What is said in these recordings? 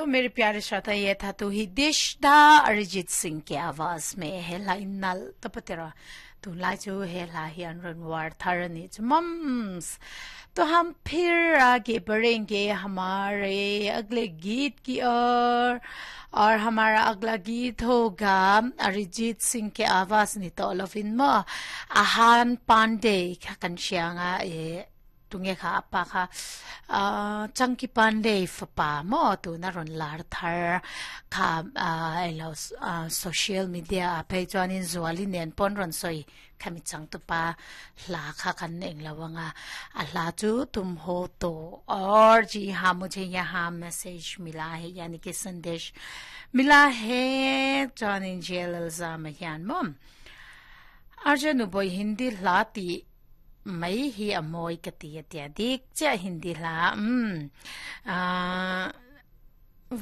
तो मेरे प्यारे श्रोता ये था तू ही देश दा अरिजीत सिंह के आवाज में he hla in nal tapatera tu lai chu he hla hi an rawn war thar ani chu mums तो हम फिर आगे बढ़ेंगे हमारे अगले गीत की ओर और हमारा अगला गीत होगा अरिजीत सिंह के आवाज ni to lovin mo Ahan Pandey kha kan hrianga e tunge kha apa kha Chunky Pandey fapa mo tuna rawn lar thar kha elo social media ah phei chuanin Zuali nen pawn rawn sawi khami changtupa hla kha kan eng lo anga a hla chu tum ho to aur ji ha mujhe yaha message mila hai yani ki sandesh mila hai chuanin JLL zama hian maw Arjun Uboi Hindi hla tih mai hi a mawi ka ti a tia dik chiah Hindi hla umm ahh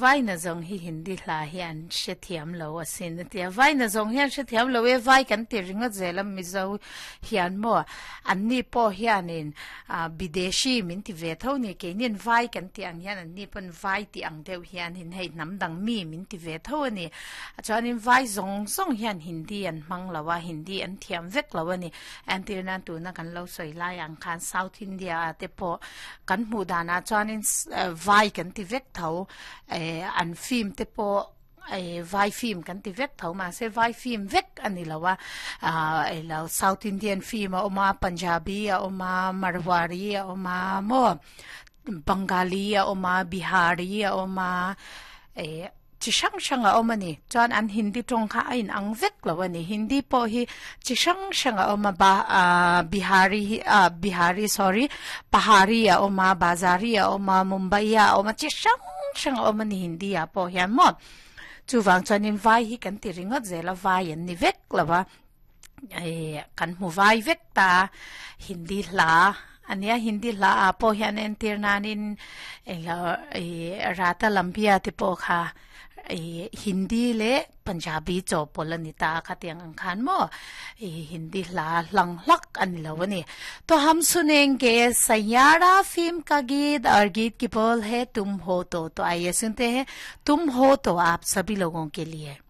Vaina zawng hi Hindi hla hi an hrethiam lo asin a tia Vaina zawng hian hrethiam lo e vai kan ti ringawt zel a Mizo hian maw anni pawh hianin ah bideshi min ti ve tho ni keini'n vai kan tih ang hian anni pawn vai tih ang deuh hianin hei hnam dang mi min ti ve tho a ni chuanin vai zawng zawng hian Hindi an hmang lo a Hindi an thiam vek lo a ni. Entir nan tuna kan lo sawi lai ang khan South India ah te pawh kan hmuh danah chuanin vai kan ti vek tho eh an film te pawh eh vai film kan ti vek tho mahse vai film vek a ni lo a ah elo South Indian film a awm a Punjabi a awm a Marwari a awm a maw Bengali a awm a Bihari a awm a eh. Chi hrang hrang a awm a ni. Chuan an Hindi tawng kha a inang vek lo a ni. Hindi pawh hi chi hrang hrang a awm a, ba ah Bihari hi ah Bihari sorry Pahari a awm a, Bazari a awm a, Mumbai a awm a, chi hrang hrang a awm a ni Hindi ah pawh hian maw. Chuvang chuanin vai hi kan ti ringawt zel a, vai an ni vek lo a. Eh kan hmu vai vek ta Hindi hla ania Hindi hla ah pawh hian entir nanin englo ih Rata Lambia te pawh kha ih Hindi leh Punjabi chawhpawlh a ni ta a khatiang ang khan maw ih Hindi hla hlang hlak a ni lo a ni. To hum sunenge Saiyaara film ka geet aur geet ki bol hai tum ho to to aaiye sunte hain tum ho to aap sabhi logon ke liye.